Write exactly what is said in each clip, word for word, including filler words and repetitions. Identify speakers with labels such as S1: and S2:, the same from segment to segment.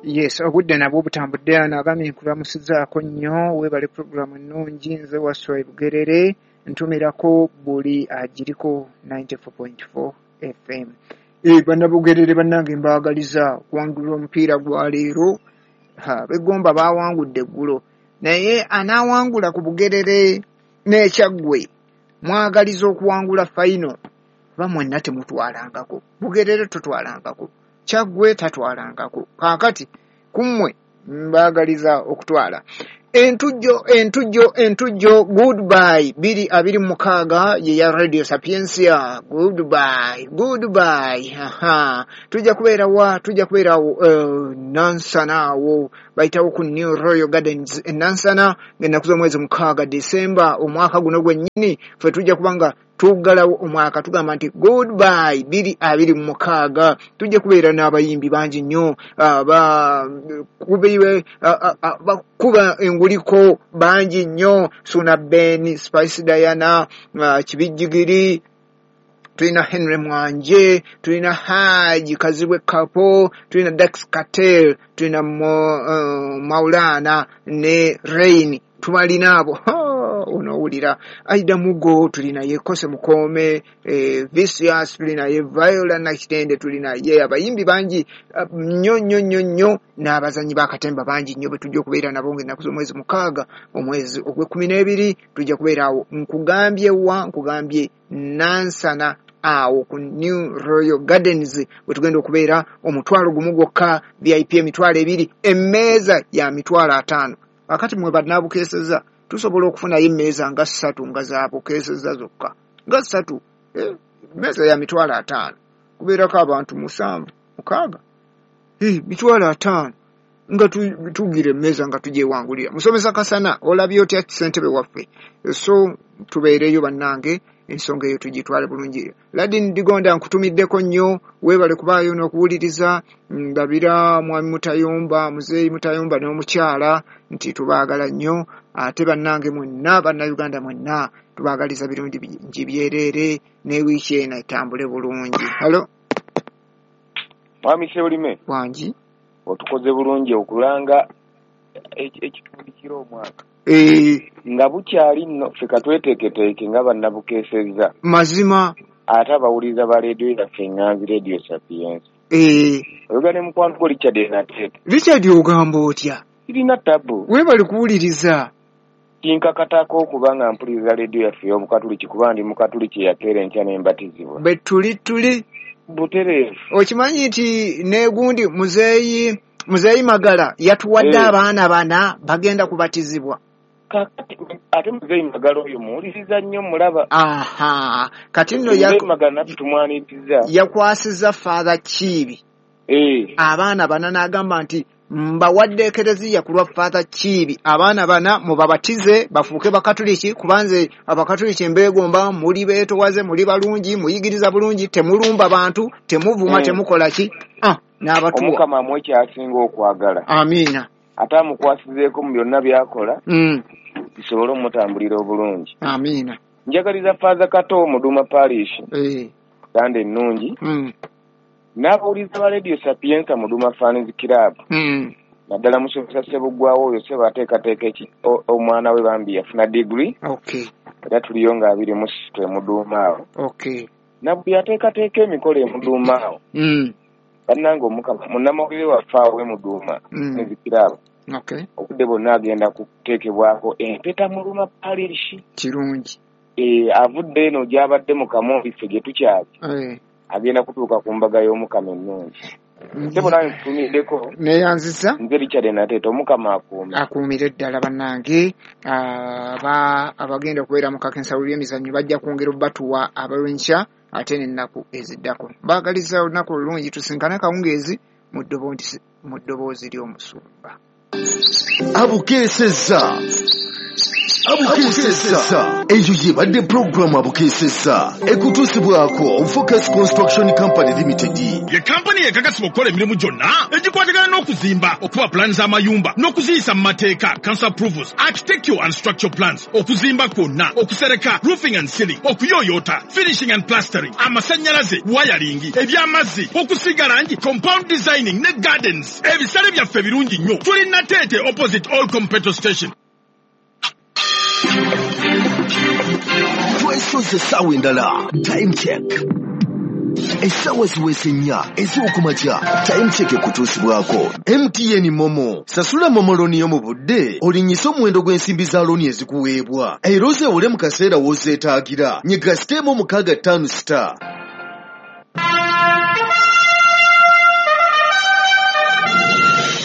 S1: Yes, obudde nabwo butambudde. Ano agambye nkulamusizaako nnyo, weebale puroguramu ennungi. Nze Wasswa e Bugerere, ntumirako buli agiriko ninety-four point four F M. Eh, bannabugerere bannange mbaagaliza okuwangula omupiira gwa leero. Ha, Begomba baawangudde eggulo, naye anaawangula ku Bugerere n'Ekyaggwe mwagaliza okuwangula fayino, oba mwenna temutwalangako. Bugerere totwalangako, Kyaggwe tatwalangako. Kaakati ku mmwe mbaagaliza okutwala. Entujjo, entujjo, entujjo, goodbye. Biri abiri mu mukaaga ye ya Radio Sapientia. Goodbye, goodbye. Aha. Tujja kubeera wa? Tujja kubeera awo, uh, Nansana awo. Bayitawo ku New Royal Gardens e Nansana ng'ennaku z'omwezi mukaaga December omwaka guno gwennyini. Ffe tujja kuba nga tuggalawo omwaka tugamba nti goodbye biri abiri mu mukaaga. Tujja kubeera n'abayimbi bangi nnyo, abakubiwe, abakuba enguliko bangi nnyo, Suna Ben, Spice Diana, Kibijjigiri, tulina Henry Mwanje, tulina Haji Kazibwe Kapo, tulina Dax Kartel, tulina Mo, uh, Maulana ne Rain. Tubalina abo. Onoowulira Aida Mugo, tulina ye Kose Mukome, eh, Vicious, tulina ye Viola Nakitende, tulina ye abayimbi bangi nnyo nnyo nnyo nnyo, n'abazannyi b'akatemba bangi nnyo be tujja okubeera nabo ng'ennaku z'omwezi mukaaga omwezi ogw'ekkumi n'ebiri tujja kubeera awo. Nkugambye wa? Nkugambye Nansana awo ku New Royal Gardens we tugenda okubeera. Omutwalo gumu gwokka, V I P emitwalo ebiri, emmeeza ya mitwalo ataano. Akati mwe bannabukeeseza tusobola okufunayo emmeeza nga ssatu nga zaabukeeseza zokka, nga ssatu, eh, emmeeza ya mitwalo ataano kubeerako abantu musanvu mukaaga, eh, mitwalo ataano nga tugira emmeeza nga tugyewangulira. Musomesa Kasana, olabye otya ssentebe waffe? So tubeereyo bannange, ensonga eyo tugitwale bulungi. Ladin Digonda nkutumiddeko nnyo, weebale kubaayo n'okuwuliriza. Ndabira mwami Mutayomba, muzeeyi Mutayomba n'omukyala nti tubaagala nnyo. Ate bannange mwenna, bannayuganda mwenna tubaagaliza birungi bingi byereere, ne wiiki eno etambule bulungi. Halo
S2: Mwami Ssebulime.
S1: Wangi.
S2: Otukoze bulungi okulanga ekitundikira omwaka.
S1: Eh,
S2: nga bukyali nno ffe katweteeketeeke nga bannabukeesezza.
S1: Mazima.
S2: Ate abawuliriza ba leediyo yaffe Ŋŋanzi, Radio Sapientia.
S1: Eh.
S2: Oyogera ne mukwano gwo Richard Nateete.
S1: Richard, ogamba otya?
S2: Sirina tabu.
S1: Weebale kuwuliriza.
S2: Kinkakatako okuba nga mpuliriza leediyo yaffe ey'Obukatuliki kuba ndi Mukatuliki eyakeera enkya ne mbatizibwa.
S1: Bwe tuli tuli.
S2: Butereevu.
S1: Okimanyi nti n'egundi muzeeyi, muzeeyi Magala yatuwadde
S2: Eh.
S1: abaana bana bagenda kubatizibwa.
S2: Kakati ate muzeeyi Magala oyo muwuliriza nnyo, mulaba.
S1: Aha, kati nno
S2: Muzeeyi Magala naffe tumwaniriza.
S1: Yakwasizza Father Kiibi.
S2: Eh.
S1: Abaana bana n'agamba nti mbawadde ekereziya ku lwa Father Kiibi, abaana bana mubabatize bafuuke bakatuliki, kubanze abakatuliki mbeegomba, muli beetowaze, muli balungi, muyigiriza bulungi, temulumba bantu, temuvuma,
S2: Mm.
S1: temukola ki? Ah, n'abatuwa.
S2: Omukama amuwe ky'asinga okwagala.
S1: Amiina.
S2: Ate amukwasizeeko mu byonna by'akola.
S1: Mm.
S2: Bisobole omutambulira obulungi.
S1: Amiina.
S2: Njagaliza Father Kato Muduma Parish.
S1: Eh.
S2: Sande ennungi.
S1: Mm.
S2: N'abawuliriza ba Radio Sapientia Muduma Fans Club.
S1: Mm.
S2: Naddala musomesa Ssebuggwawo oyo Ssebo ateekateeka eki-, o-, omwana we bambi yafuna degree.
S1: Okay.
S2: Era tuliyo nga abiri mu ssatu e Muduuma awo.
S1: Okay.
S2: Na buli ateekateeka emikolo e Muduuma awo.
S1: Mm.
S2: Bannange Omukama, munnamawulire waffe awo e Muduuma,
S1: Mm.
S2: ne zikiraabo.
S1: Okay.
S2: Obudde bwonna agenda kuteekebwako empeta Muluma Parish.
S1: Kirungi.
S2: Eh, avudde eno gy'abadde mu Kamooli ffe gye tukyali.
S1: Eh.
S2: Agenda kutuuka ku mbaga y'Omukama ennungi. Ssebo nange nkutumiddeko.
S1: Neeyanzizza.
S2: Nze Richard Nateete, Omukama akuume.
S1: Akuumire ddala bannange. Aba, abagenda okubeera mu kakensa lw'emizannyo bajja kwongera obbatuwa abalwenkya ate n'ennaku eziddako. Mbaagaliza olunaku olulungi, tusinkane akawungeezi mu ddoboozi, mu ddoboozi ly'omusumba.
S3: Abukeesezza. Abukeesesa. Eyo yebadde pulogulaamu Abukeesesa ekutuusibwako Focus Construction Company Limited.
S4: Ye kampani ekakasibwa okukola emirimu gyonna egikwatagana n'okuzimba, okuba pulaani z'amayumba n'okuziyisa mu mateeka, council approvals, architectural and structural plans, okuzimba kwonna, okusereka, roofing and ceiling, okuyooyoota, finishing and plastering, amasannyalaze, wiring, eby'amazzi, okusiiga langi, compound designing ne gardens. Ebisale byaffe birungi nnyo. Tuli Nateete opposite All Petrol Station.
S3: Twesoze essaawa endala. Time check. Essaawa ziweze nnya ez'okumakya. Time check ekutuusibwako M T N Momo. Sasula Momo looni yo mu budde, olinnyise omuwendo gw'ensimbi za looni ezikuweebwa. Era ozeewole mu kaseera w'ozeetaagira. Nyiga siteemu mukaaga ttaano star.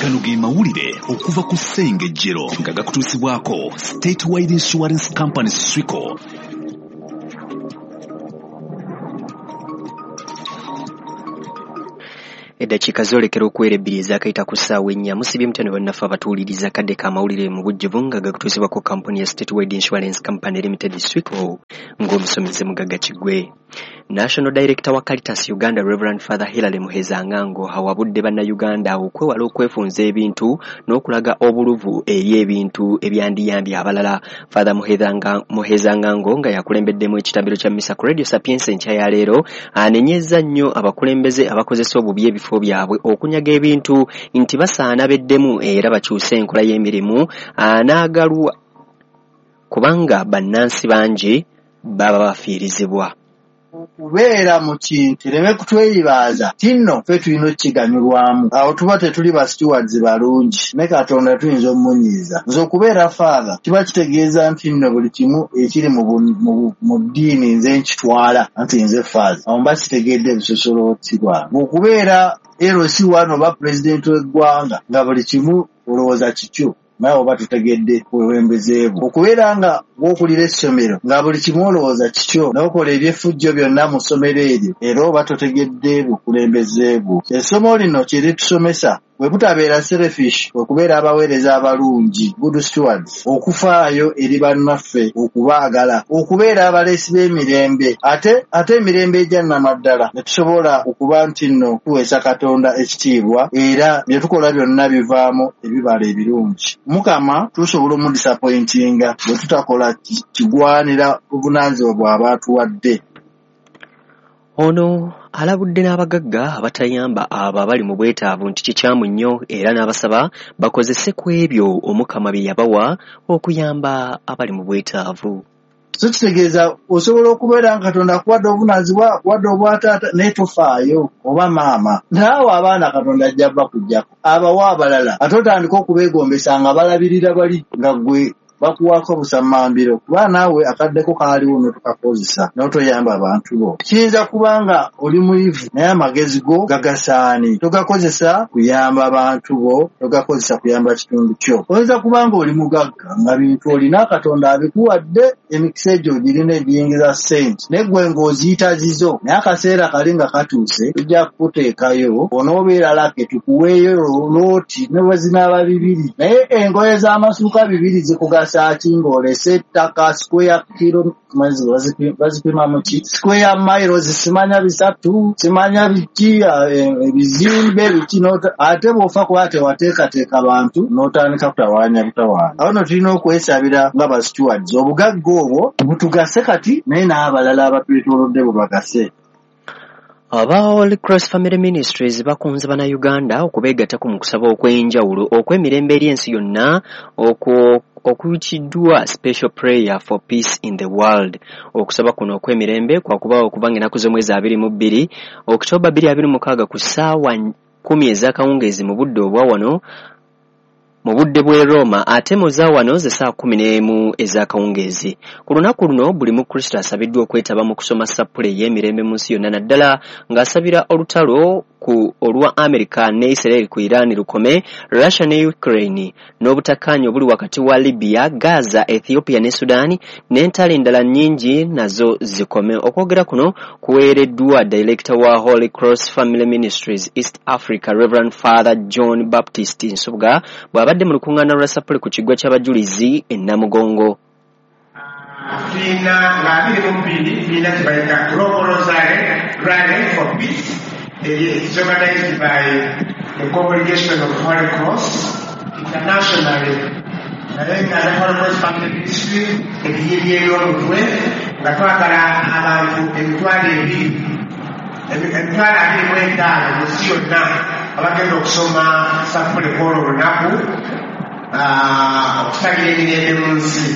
S5: Gano ge mawulire okuva ku Ssengejjero nga gakutuusibwako Statewide Insurance Company Swico.
S6: Eddakiika zoolekera okuwera ebbiri ezaakayita ku ssaawa ennya. Musibye mutya ne bannaffe abatuwuliriza kadde k'amawulire mu bujjuvu nga gakutuusibwako kampuni ya Statewide Insurance Company Limited Swico ng'omusomeze Mugagga Kiggwe. National Director wa Caritas Uganda Reverend Father Hilary Muhezangango awabudde bannayuganda okwewala okwefunza ebintu n'okulaga obuluvu eri ebintu ebyandiyambye abalala. Father Muhezangango nga yakulembeddemu ekitambiro kya Misa ku Radio Sapienza enkya ya leero anenyezza nnyo abakulembeze abakozesa obubi ebifo byabwe okunyaga ebintu nti basaana beddemu era bakyuse enkola y'emirimu anaagalwa kubanga bannansi bangi baba bafiirizibwa.
S7: Okubeera mu kintu kireme kutweyibaaza tinno ffe tulina okukiganyulwamu, awo tuba tetuli ba stewards balungi ne Katonda tuyinza omumunyiiza. Nze okubeera father kiba kitegeeza nti nno buli kimu ekiri mu ddiini nze nkitwala anti nze father, awo mba kitegedde ebisosolooti bwange. Okubeera L C one oba pulezidenti w'eggwanga nga buli kimu olowooza kikyo naye oba tutegedde bukulembeze bwo. Okubeera nga bw'okulira essomero nga buli kimu olowooza kikyo n'okola eby'effujjo byonna mu ssomero eryo era oba totegedde bukulembeze bwo. Essomo lino kye litusomesa bwe butabeera selfish, okubeera abaweereza abalungi, good stewards, okufaayo eri bannaffe, okubaagala, okubeera abaleesi b'emirembe ate ate emirembe egya nnamaddala ne tusobola okuba nti nno tuweesa Katonda ekitiibwa era bye tukola byonna bivaamu ebibala ebirungi. Mukama tusobola omudisappointinga bwe tutakola kigwanira buvunaanyizibwa bw'aba atuwadde.
S6: Ono alabudde n'abagagga abatayamba abo abali mu bwetaavu nti kikyamu nnyo era n'abasaba bakozese ku ebyo Omukama bye yabawa okuyamba abali mu bwetaavu.
S7: So kitegeeza osobola okubeera nga Katonda akuwadde obuvunaanyizibwa, akuwadde obwataata naye tofaayo oba maama. Naawe abaana Katonda ajja bakuggyako abawa abalala ate otandika okubeegombesa nga balabirira bali nga ggwe bakuwaako busammambiro kuba naawe akaddeko kaaliwo n'otukakozesa n'otoyamba abantu bo. Kiyinza kuba nga oli muyivu naye amagezi go gagasaani, togakozesa kuyamba bantu bo, togakozesa kuyamba kitundu kyo. Oyinza kuba nga oli mugagga nga bintu olina Katonda abikuwadde, emikisa egyo girina egiyingiza ssente naye ggwe ng'oziyita zizo, naye akaseera kali nga katuuse tujja kukuteekayo onoobeera lake tukuweeyo looti ne bwe zinaaba bibiri, naye engoye z'amasuuka bibiri zikugasa ng'olese ettaka square kilo bazipima mu ki square miles simanya bisatu simanya biki ebizimbe biki, ate bw'ofa kuba tewateekateeka bantu n'otandika kutawaanya butawaanya. Awo nno tulina okwesabira nga ba stewards obugagga obwo butugase kati naye n'abalala abatwetoolodde bubagase.
S6: Aba Holy Cross Family Ministries bakunze bannayuganda okubeegattako mu kusaba okw'enjawulo okw'emirembe eri ensi yonna okwo okuyitiddwa Special Prayer for Peace in the World. Okusaba kuno okw'emirembe kwakubaawo okuva ng'ennaku z'omwezi abiri mu bbiri Okitoba bbiri abiri mukaaga ku ssaawa kkumi ez'akawungeezi mu budde obwa wano mu budde bw'e Roma ate mu za wano ze ssaawa kkumi n'emu ez'akawungeezi. Ku lunaku luno buli Mukristo asabiddwa okwetaba mu kusoma sappule ey'emirembe mu nsi yonna naddala ng'asabira olutalo ku olwa America ne Israel ku Iran lukome, Russia ne Ukraine n'obutakkaanya obuli wakati wa Libya, Gaza, Ethiopia ne Sudan n'entalo endala nnyingi nazo zikome. Okwogera kuno kuweereddwa Director wa Holy Cross Family Ministries East Africa Reverend Father John Baptist Nsubuga bw'abadde mu lukuŋŋaana lwa sappule ku kiggwa ky'abajulizi e Namugongo.
S8: Tulina nga abiri mu bbiri tulina kye bayita Global Rosary Rally for Peace. It is organized by the Congregation of Holy Cross internationally, naye nga ne Holy Cross Family Ministry ebiyibye omutwe nga twagala abantu emitwalo ebiri, emitwalo abiri mu etaano mu nsi yonna abagenda okusoma sapule kwolwo olunaku okusabira emirembe mu nsi.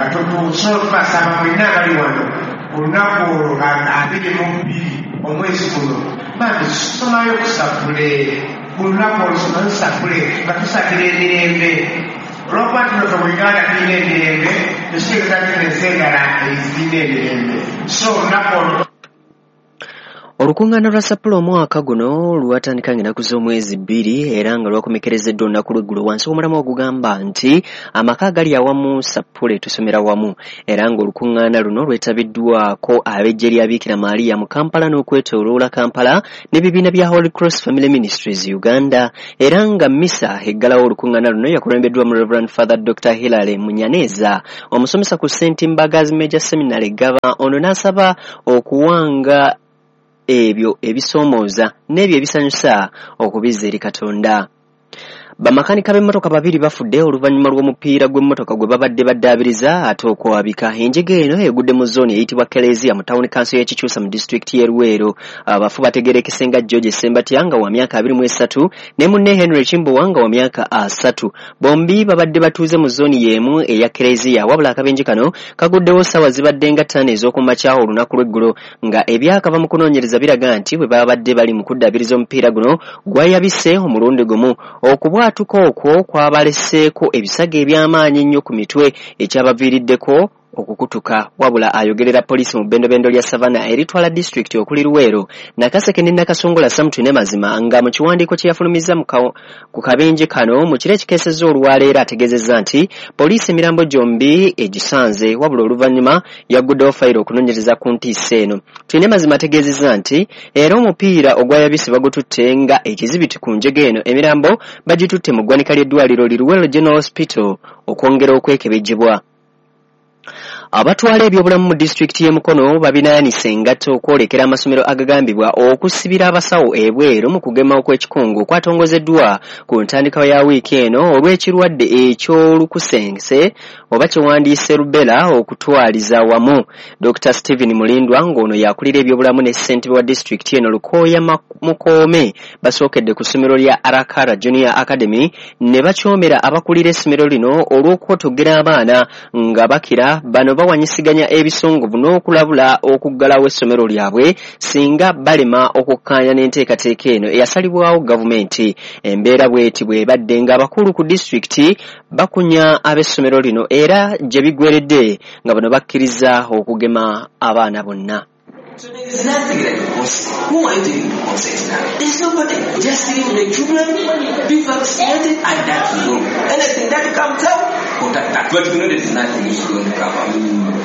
S8: Nga tusobola okubasaba mwenna abali wano olunaku olwo abiri mu bbiri omwezi guno, bambi tusomayo kusapule ku lunaku olwo, somayo sapule nga tusabira emirembe. Olwokuba tuno ffe mu Uganda tulina emirembe, tekitegeeza nti ensi endala ezirina emirembe. So olunaku olwo.
S6: Olukuŋŋaana lwa sapule omwaka guno lwatandika ng'ennaku z'omwezi bbiri era nga lwakomekerezeddwa olunaku lw'eggulo wansi w'omulamwa ogugamba nti amaka agali awamu sapule tusomera wamu, era ng'olukuŋŋaana luno lwetabiddwako ab'eggye lya Biikira Maria mu Kampala n'okwetooloola Kampala n'ebibiina bya Holy Cross Family Ministries Uganda, era nga mmisa eggalawo olukuŋŋaana luno yakulembeddwa mu Reverend Father Doctor Hilary Munyaneza, omusomesa ku Saint Mbagazi Major Seminary Gaba. Ono n'asaba okuwanga ebyo ebisoomooza n'ebyo ebisanyusa okubizza eri Katonda. Bamakanika b'emmotoka babiri bafudde oluvannyuma lw'omupiira gw'emmotoka gwe babadde baddaabiriza ate okwabika. Enjega eno egudde mu zooni eyitibwa Kelezia mu tawuni kanso y'e Kikyusa mu disitulikiti y'e Luweero. Abafu bategeerekese nga George Ssembatya nga wa myaka abiri mu esatu ne munne Henry Kimbowa nga wa myaka asatu. Bombi babadde batuuze mu zooni y'emu eya Kelezia, wabula akabenje kano kaguddewo ssaawa zibadde nga ttaano ez'okumakya olunaku lw'eggulo, nga ebyakava mu kunoonyereza biraga nti bwe babadde bali mu kuddaabiriza omupiira guno gwayabise omulundi gumu. Okubwatuka okwo kwabaleseeko ebisago eby'amaanyi ennyo ku mitwe ekyabaviiriddeko okukutuka. Wabula ayogerera poliisi mu bbendobendo lya Savannah eritwala disitulikiti okuli Luweero, Nakaseke ne Nakasongola, Sam Twinemazima, nga mu kiwandiiko kye yafulumizza ku kabenje kano mu kiro ekikeesezza olwaleero ategeezezza nti poliisi emirambo gyombi egisanze, wabula oluvannyuma yagguddewo fayiro okunoonyereza ku ntiisa eno. Twinemazima ategeezezza nti era omupiira ogwayabise bagututte nga ekizibiti ku njega eno, emirambo bagitutte mu ggwanika ly'eddwaliro li Luweero General Hospital okwongera okwekebejjebwa. Abatwala ebyobulamu mu disitulikiti y'e Mukono babinaanise engatto okwolekera amasomero agagambibwa okusibira abasawo ebweru mu kugema okw'ekikungu okwatongozeddwa ku ntandikwa ya wiiki eno olw'ekirwadde eky'olukusense oba kyewandiise rubella okutwaliza wamu. Doctor Stephen Mulindwa ng'ono yakulira ebyobulamu ne ssentebe wa disitulikiti eno Lukoya Mukoome basookedde ku ssomero lya Arakara Junior Academy ne bakyomera abakulira essomero lino olw'okwotogera abaana nga bakira bano bawanyisiganya ebisongovu n'okulabula okuggalawo essomero lyabwe singa balema okukkaanya n'enteekateeka eno eyasalibwawo gavumenti. Embeera bw'eti bw'ebadde ng'abakulu ku disitulikiti bakunya ab'essomero lino era gye biggweredde nga bano bakkiriza okugema abaana bonna.
S9: So there is nothing like consent. Who are you taking to consent now? There's nobody. Just leave the children, be vaccinated, and that's all. Anything that comes out, contact that. But you know there is nothing is going to come out.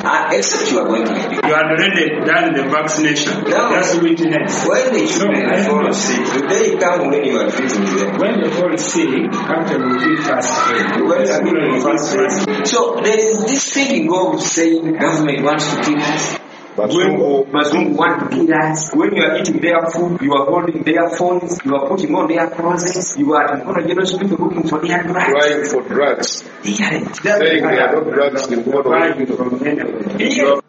S9: Uh, except you are going to be.
S10: You had already done the vaccination.
S9: No.
S10: Just witness.
S9: When the children
S10: no,
S9: fall sick, do they come when you are treating them?
S10: When they fall sick, captain will be first aid.
S9: When
S10: the school will first aid.
S9: So there is this thinking of saying government wants to kill us.
S11: Bazungu,
S9: Bazungu want to kill us. When you are eating their food, you are holding their phones, you are putting on their clothes, you are at Mukono General Hospital looking for their drugs.
S11: Crying for drugs.
S9: Yeah.
S11: Saying they are not drugs in Mukono.
S9: Yeah.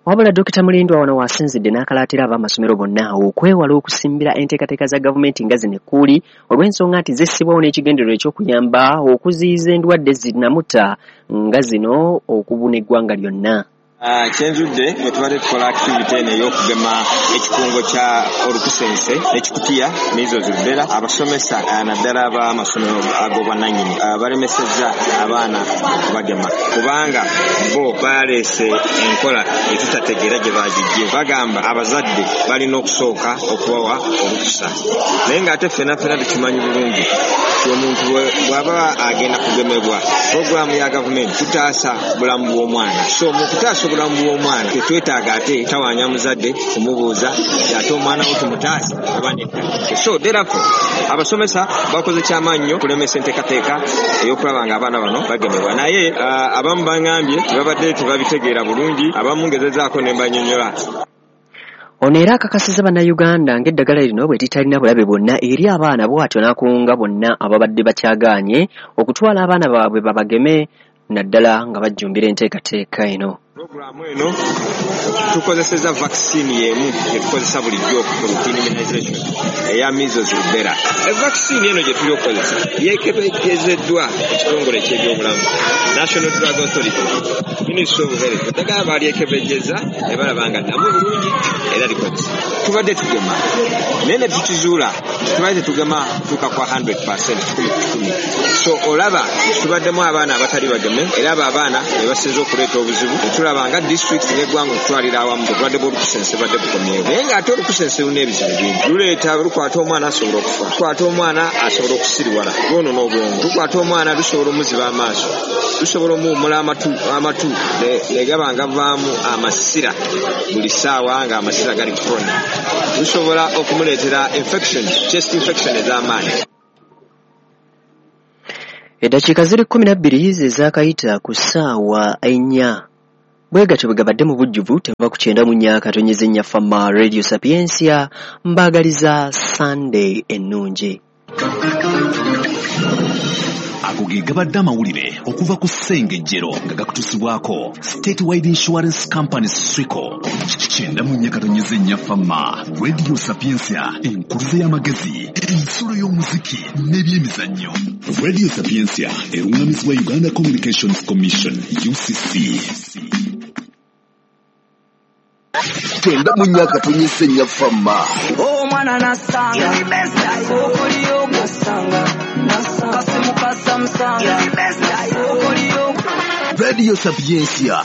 S6: Wabula Dokita Mulindwa wano wasinzidde n'akalaatira ab'amasomero bonna okwewala okusimbira enteekateeka za gavumenti nga zino ekkuuli olw'ensonga nti zissibwawo n'ekigendererwa eky'okuyamba okuziyiza endwadde zinamutta nga zino okubuna eggwanga lyonna.
S12: Uh, kyenzudde bwe tubadde tukola activity eno ey'okugema ekikungo kya olukusense ekikutiya measles rubella, abasomesa uh, naddala ab'amasomero ag'obwannannyini uh, balemesezza abaana okubagema kubanga bo baleese enkola etutategeera gye bagiggye. Bagamba abazadde balina okusooka okubawa olukusa, naye ng'ate ffenna ffenna tukimanyi bulungi Omuntu bw'aba agenda kugemebwa, puroguramu ya gavumenti kutaasa bulamu bw'omwana. So mu kutaasa obulamu bw'omwana tetwetaaga ate tawaanya muzadde kumubuuza ate omwana wo tumutaase oba nedda. So therefore abasomesa bakoze kyamaanyi nnyo okulemesa enteekateeka ey'okulaba nga abaana bano bagemebwa. Naye uh, abamu bangambye tebabadde tebabitegeera bulungi, abamu ngezezaako ne mbanyonnyola.
S6: Ono era akakasizza bannayuganda ng'eddagala lino bwe litalina bulabe bwonna eri abaana, bw'atyo n'akunga bonna ababadde bakyagaanye okutwala abaana baabwe babageme naddala nga bajjumbira enteekateeka eno.
S12: Puroguramu eno tukozeseza vaccine y'emu gye tukozesa bulijjo ku routine immunization eya measles rubella. Vaccine eno gye tuli okukozesa yeekebejjezeddwa ekitongole eky'ebyobulamu, National Drug Authority, Ministry of Health. Eddagala baalyekebejjeza ne balaba nga nnamu bulungi era likozesa. Tubadde tugema naye ne tukizuula tubadde tetugema kutuuka kwa hundred percent kikumi ku kikumi. So olaba tubaddemu abaana abatali bageme era abo abaana be basinze okuleeta obuzibu. Tulaba nga district n'eggwanga okutwalira awamu obulwadde bw'olukusense badde bukomyewo, naye ng'ate olukusense lulina ebizibu bingi. Luleeta lukwata omwana asobola okufa, lukwata omwana asobola okusiriwala, lwonoona obwongo, lukwata omwana lusobola omuziba amaaso, lusobola omuwummula amatu amatu ne gaba nga gavaamu amasira buli ssaawa ng'amasira gali chronic, lusobola okumuleetera infection, chest infection ez'amaanyi.
S6: Eddakiika ziri kkumi na bbiri ze zaakayita ku ssaawa ennya. Bwe gatyo bwe gabadde mu bujjuvu teva ku kyenda mu nnya akatonyeza ennya Fama Radio Sapientia. Mbaagaliza Sunday ennungi.
S5: Ago ge gabadde amawulire okuva ku Ssengejjero nga gakutuusibwako Statewide Insurance Company Swico. Kyenda mu nnya katonyeza ennya Fama Radio Sapientia, enkuluze y'amagezi, ensulo y'omuziki n'ebyemizannyo. Radio Sapientia erungamizibwa Uganda Communications Commission U C C.
S3: Kyenda mu nnya katonyeza ennya Fama.
S13: Omwana nasanga okoliyo nasanga kasimu kasamsanga okoliyo
S3: Radio Sapientia.